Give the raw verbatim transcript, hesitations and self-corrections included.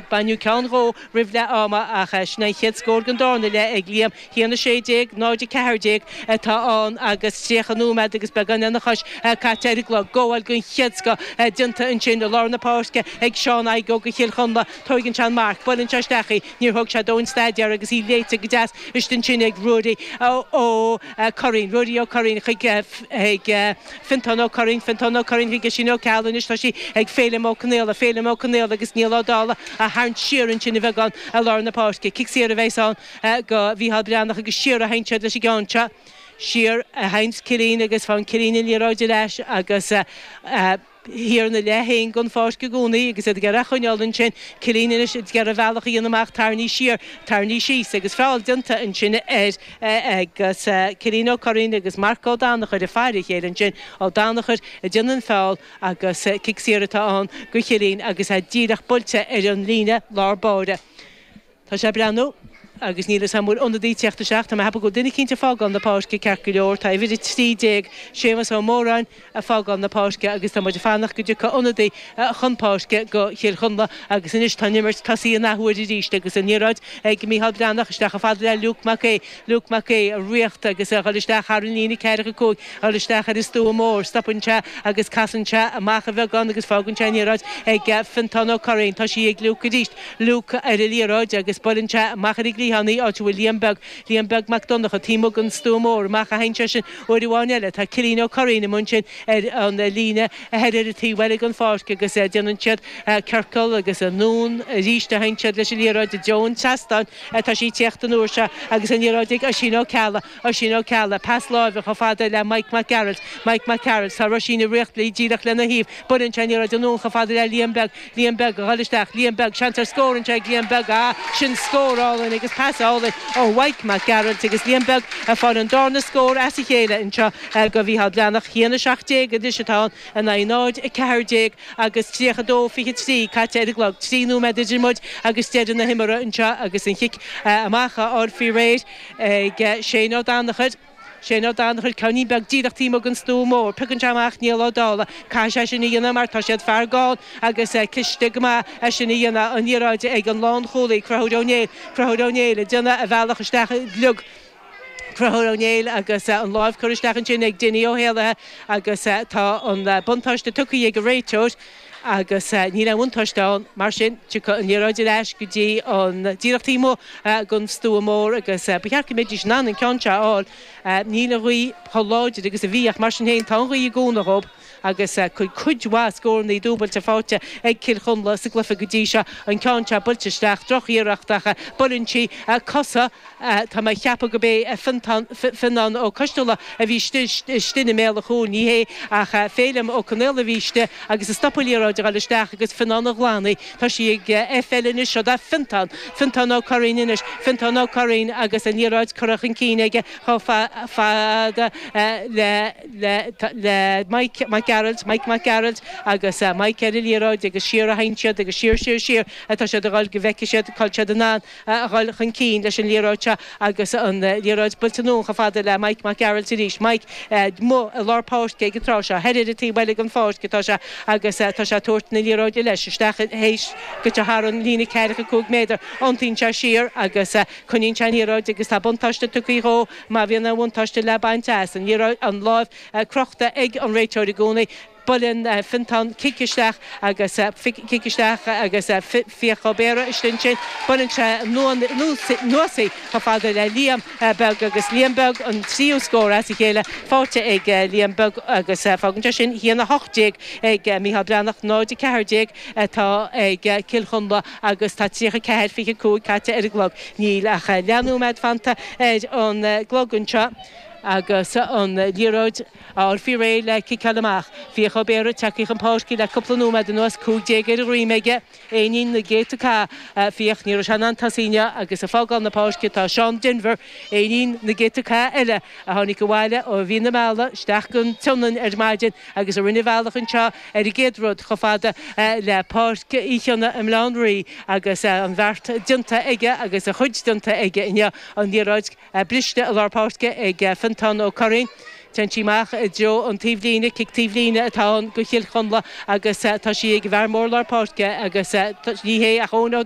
Baineadh ceann dhó roimh leath ama ach sin an chéad scór den darna leath ag Liam. haon a sé déag, náid a ceathair déag atá ann agus tríocha nóiméad agus beagán lena chois caite ar an gclog. Gabháil den chéad scoth déanta ansin i lár na páirce ag Seán Igoe do Chill Chonla. Tóigeann sé an marc, buaileann sé isteach í, níor thóg sé dóthain staidéir agus í léite go deas istigh ansin ag Ruairí Ó Curraoin. Ruairí Ó Curraoin chuig Fiontán Ó Curraoin, Fiontán Ó Curraoin chuig Oisín Ó Ceallaigh, anois tá sí ag Féilim Ó Conaola, Féilim Ó Conaola agus Niall Ó Dálaigh á tharraingt siar ansin a bheagán i lár na páirce. Cic saor a bheas ann do Mhícheál Breathnach agus siar a théann siad leis an gceann seo. Siar a théanns Cillín agus faigheann Cillín an liathróid ar ais agus thiar ina leath féin den pháirc i gcónaí agus iad ag iarraidh a choinneáil ansin. Cillín anois ag iarraidh a bhealach a dhéanamh amach, tarraingthe siar, tarraingthe síos agus feall déanta ansin air agus Cillín Ó Curraoin agus Marc Ó Danachair ag faire a chéile ansin. Ó Danachair ag déanamh an feall agus cic saor atá ann do Chillín agus é díreach buailte ar an líne lár báire. Tá sé ag breathnú agus níl fhios a'm an bhfuil ionadaí ag teacht isteach. Tá mé ag ceapadh go bhfuil duine eicínt ag fágáil na páirce ceart go leor. Tá uimhir a trí déag, Séamus Ó Móráin, ag fágáil na páirce agus tá muid ag fanacht go dtiocfaidh ionadaí chun páirce do Chill Chonla agus anois tá an imirt tosaithe an athuair arís agus an liathróid ag Mícheál Breathnach isteach chomh fada le Luke Mac Aodha. Luke Mac Aodha ag ritheacht agus a dhul isteach thar an líne ceathracha cúig, a dhul isteach ar an stua mór. Stopann sé agus casann sé amach a bheagán agus fágann sé an liathróid ag Fiontán Ó Curraoin. Tá sí ag Luke arís. Luke ar an liathróid agus buaileann sé amach ar an gcliathán í, áit a bhfuil Liam Beag, Liam Beag Mac Donncha, taobh amuigh den stua mór. Amach a théann sé sin uair amháin eile. Tá Cillian Ó Curraoin amuigh ansin ar an líne thoir ar an taobh eile den pháirc agus déanann siad ciorcal agus anonn arís a théann siad leis an liathróid i dtreo an tseastáin. Tá sí ag tíocht an uair seo agus an liathróid ag Oisín Ó Ceallaigh, Oisín Ó Ceallaigh, pas láimhe chomh fada le Mike Mac Gearailt, Mike Mac Gearailt, tá Roisín ag ritheacht léi díreach lena thaobh. Buaileann sé an liathróid anonn chomh fada le Liam Beag, Liam Beag a dhul isteach, Liam Beag, seans ar scór anseo ag Liam Beag, ah, sin scór álainn agus pas álainn ó Mhaidhc Mac Gearailt agus Liam Beag ag fáil an darna scór as a chéile anseo do Mhícheál Breathnach. haon a seacht déag anois atá ann in aghaidh náid a ceathair déag agus tríocha dó fiche trí caite ar an gclog. Trí nóiméad idir muid agus deireadh na himeartha anseo agus an chic amach á fháil faoi réir ag Shane Ó Danachair. Shane Ó Danachair, ceainnín beag díreach taobh amuigh den stua mór. Piocann sé amach Niall Ó Dálaigh. Caithfidh sé sin a dhéanamh mar tá siad fear gann agus cliste go maith é sin a dhéanamh. An liathróid ag an lánchúlaí, Conchúr Ó Néill. Conchúr Ó Néill ag déanamh a bhealach isteach i gcliog. Conchúr Ó Néill agus an láimh curtha isteach ansin ag Dinny Ó hÉallaithe agus tá an buntáiste tugtha ag an réiteoir. Agus níl aon bhuntáiste ann, mar sin, tiocfaidh an liathróid ar ais go dtí an díreach taobh amuigh den stua mór agus ba cheart go mbeidís in ann an ceann seo a fháil. Níl an ghaoth chomh láidir agus a bhí ach mar sin féin tá an ghaoth i gcónaí dhób agus cuid mhaith scóranna dúbailte faighte ag Cill Chonla sa gcluiche go dtí seo. An ceann seo buailte isteach, drochiarracht ach buaileann sí cosa. Tá mé ag ceapadh gurb é Fionán Ó Coisteala a bhí istigh i mbéal an chúil, ní hé ach Féilim Ó Conaola a bhí istigh agus a stop an liathróid a dhul isteach agus Fionán a ghlan í. Tá sí ag F L anois, seo do Fiontán, Fiontán Ó Curraoin anois, Fiontán Ó Curraoin agus an liathróid curtha chun cinn aige chomh fada le le Mike Mac Gearailt, Mike Mac Gearailt agus Mike ar an liathróid agus siar a théann siad agus siar, siar, siar atá siad a dhul go bhfeicfidh siad cá bhfuil siad in ann a dhul chun cinn leis an liathróid seo agus an liathróid buailte anonn chomh fada le Mike Mac Gearailt arís. Mike amuigh i lár páirce ag an tráth seo, thoir ar an taobh eile den pháirc atá sé agus tá sé ag tabhairt na liathróide leis isteach théis go dtí thar an líne ceathracha cúig méadar. Iontaíonn sé siar agus coinníonn sé an liathróid agus tá buntáiste tugtha dhó má bhíonn aon bhuntáiste le baint as. An liathróid, an láimh crochta ag an réiteoir i gcónaí. Buaileann Fiontán cic isteach agus cic isteach agus Fiach Ó Béarra istigh ansin. Buaileann sé anuas í chomh fada le Liam Beag agus Liam Beag an tríú scór as a chéile faighte ag Liam Beag agus fágann sé sin haon a hocht déag ag Mícheál Breathnach, náid a ceathair déag atá ag Cill Chonla agus tá tríocha ceathair fiche cúig caite ar an gclog. Níl ach leathnóiméad fanta ar an gclog anseo. Agus an liathróid á fháil faoi réir le ciceáil amach. Fiach Ó Béarra tagtha chun páirce le cúpla nóiméad anuas, cúig déag ar a dhroim aige, éinín na gcéadta cath. Fiach, ní raibh sé in ann tosaí inniu agus ag fágáil na páirce tá Seán Denvir, éinín na gcéadta cath eile a tháinig abhaile ó Mhí na Meala isteach go Tionainn ar maidin agus a rinne a bhealach anseo ar an gcéad rud chomh fada le Páirc Uí Chionnaith i mBaile Átha an Rí agus an bheart déanta aige agus a chuid déanta aige inniu, an liathróid. Briste i lár páirce ag Fiontán Ó Curraoin. Téann sí amach i dtreo an taobhlíne, cic taobhlíne atá ann do Chill Chonla agus tá sí ag an bhfear mór lár páirce agus ní hé ach Eoin Ó.